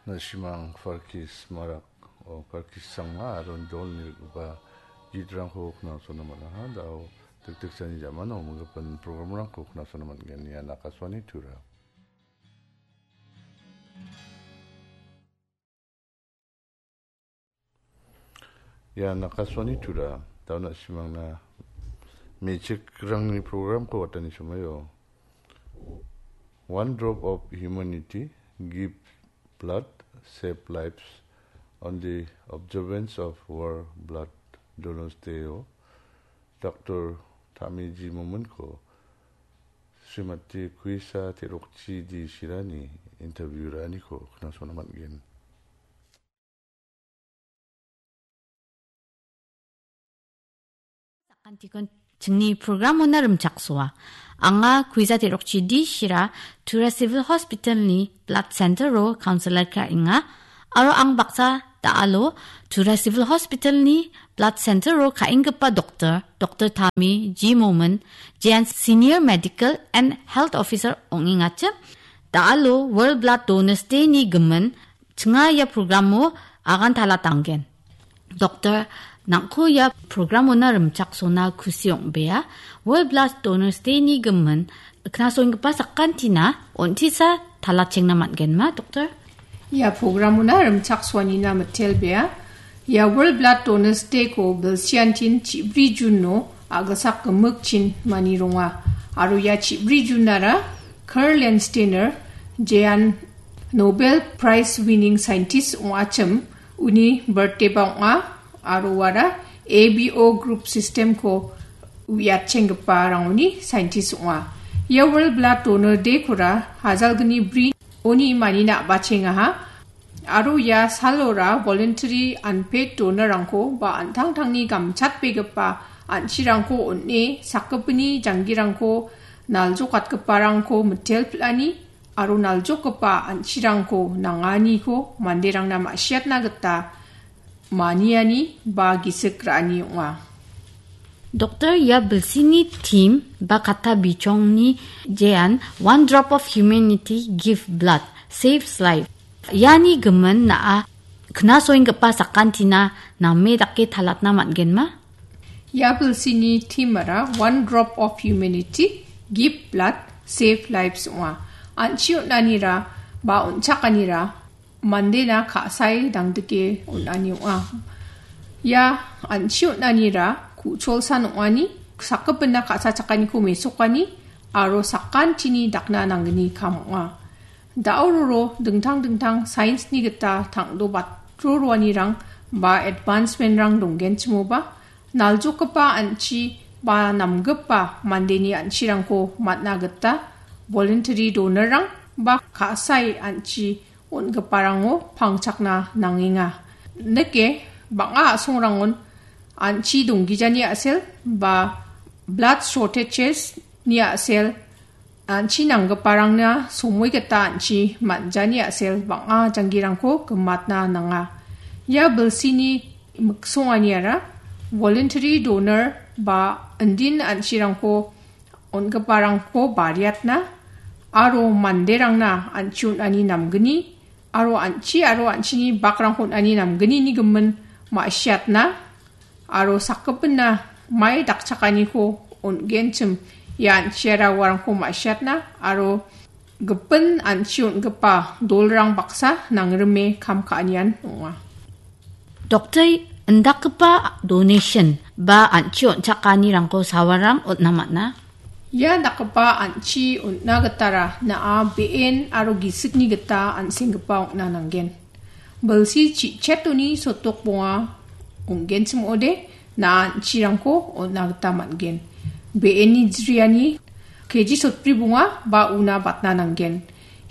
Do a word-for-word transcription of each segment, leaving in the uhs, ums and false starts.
Na·simang Farkis Marak, o Farkis Sangma aro dolni rikgipa gitrangko knasona man·aha. Da·o dikdikjani jamano minggipa programrangko knasona man·gen. Ian Akashvani Tura. Ian Akashvani Tura, da·o na·simangna me·chikrangni programko watani somoio One Drop of Humanity, Give Blood, Save Lives on the observance of World Blood Donors Day-o Doctor Tami G. Mominko Srimati Kuisa Terokchi D. Shirani interview ra·aniko knasona man·gen. Sakantikon chingni programona rimchaksoa. Anga Kuisa Terokchi D. Shira, Tura Civil Hospitalni Blood Centero counselor ka·enga. Aro ang baksa da·alo Tura Civil Hospitalni Blood Centero ka·enggipa doktor, Doktor Tami G. Momin, jean Senior Medical and Health Officer ong·engachim. Da·alo World Blood Donors Day-ni gimin chinga ia programo agan talatanggen. Doktor, nang·ko ia programona rimchaksona kusi ong·bea. World Blood Donors Day-ni gimin knasonggipa sakantina on·tisa talachengna man·genma, Doktor? Ia programona rimchaksoanina mitelbea. Ia World Blood Donors Day-ko bilsiantin chibri Juno a·gilsak gimikchin manironga. Aro ia chibri Junara Karl Landsteiner, jean Nobel Prize winning scientist ong·achim, uni birthday-ba ong·a, aro uara A B O group system-ko uiatchenggiparangoni scientist ong·a. Ia World Blood Donor Day-kora hajalgni bri oni manina a·bachengaha. Aro ia salora voluntary unpaid donor-rangko ba an·tangtangni gamchatbegipa an·chirangko on·e sakgipini janggirangko naljokatgiparangko mitel pil·ani aro naljokgipa an·chirangko nanganiko manderangna ma·siatna gita maniani ba gisik ra·ani ong·a. Doktor, ia bilsini theme ba katta bichongni jean One Drop of Humanity, Give Blood, Saves Life. Iani gimin na·a knasoenggipa sakantina name dake talatna man·genma? Ia bilsini theme-ara One Drop of Humanity, Give Blood, Save Lives ong·a. An·chi on·anira ba on·chakanira mandena ka·sae dangdike on·ani ong·a. Ia an·chi on·anira ku·cholsan ong·ani, sakgipina ka·sachakaniko mesokani aro sakantini dakna nanggni kam ong·a. Da·o roro dingtang dingtang science-ni gita tangdo batro roanirang ba advancement-rang donggenchimoba, naljokgipa an·chi ba namgipa mandeni an·chirangko man·na gita voluntary donor-rang ba ka·sae an·chi on·giparango pangchakna nangenga. Nike, bang·a a·songrangon an·chi donggijani a·sel ba blood shortages-ni a·sel, an·chi nanggiparangna somoi gita an·chi man·jani a·sel bang·a janggirangko gimatna nanga. Ia bilsini miksonganiara voluntary donor ba indin an·chirangko on·giparangko bariatna aro manderangna an·chi on·ani namgni aro an·chi aro an·chini bakrangko on·ani namgnini gimin ma·siatna aro sakgipina mai dakchakaniko on·genchim ia an·chiara uarangko ma·siatna aro gipin an·chi on·gipa dolrang baksa nangrime kam ka·anian ong·a. Doktor, indakgipa donation ba an·chi on·chakanirangko sawarang on·na man·a? Ia dakgipa an·chi on·na gitara na·a be·en aro gisikni gita an·senggipa ong·na nanggen. Bilsi chi·chetoni sotok bonga ong·genchim ong·ode, na·a an·chirangko on·na gita man·gen. Be·eni jriani K G sotbri bonga ba una batna nanggen.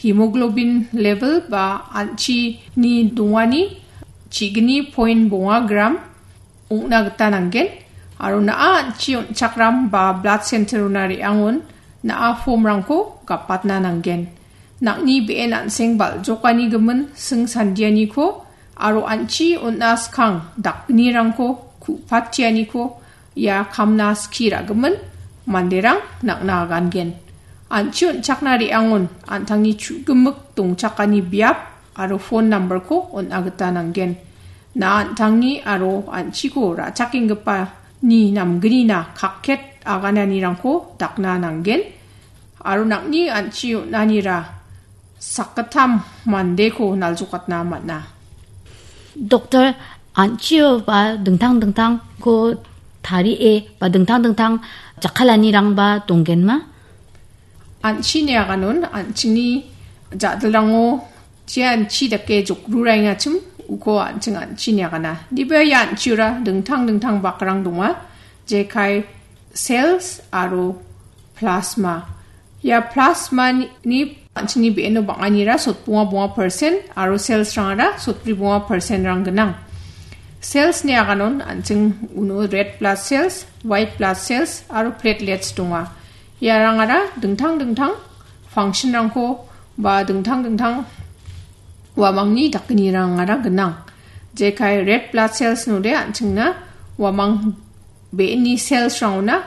Hemoglobin level ba an·chini dongani chigni point bonga gram ong·na gita nanggen. Aro na·a an·chi on·chakram ba blood center-ona re·angon na·a form-rangko gapatna nanggen. Nang·ni be·en an·seng bal·jokani gimin sing sandianiko aro an·chi on·a skang dakgnirangko ku·patianiko ia kamna skie ra·gimin manderang nang·na agangen. An·chi on·chakna re·angon an·tangni chu·gimik dongchakani biap aro phone number-ko on·a gita nanggen. Na an·tangni aro an·chiko ra·chakenggipa ni namgnina kakket agananirangko dakna nanggen. Aro nang·ni an·chi on·anira sakgittam mandeko naljokatna man·a. Doktor, an·chio ba dingtang dingtangko tarie ba dingtang dingtang jakkalanirangba donggenma? An·chini aganon an·chingni ja·dilrango je an·chi dake jokruaengachim uko an·ching an·chini agana. Niba ia an·chiora dingtang dingtang bakrang donga, jekai cells aro plasma. Ia plasma ni, ni an·chingni be·eno bang·anira sotbonga bonga percent aro cells-rangara sotbri bonga percent-rang gnang. Cells-ni aganon an·ching uno red blood cells, white blood cells aro platelets donga. Iarangara dingtang dingtang function-rangko ba dingtang dingtang uamangni dakgnirangara gnang. Jekai red blood cells-node an·chingna uamang be·ni cells-rangona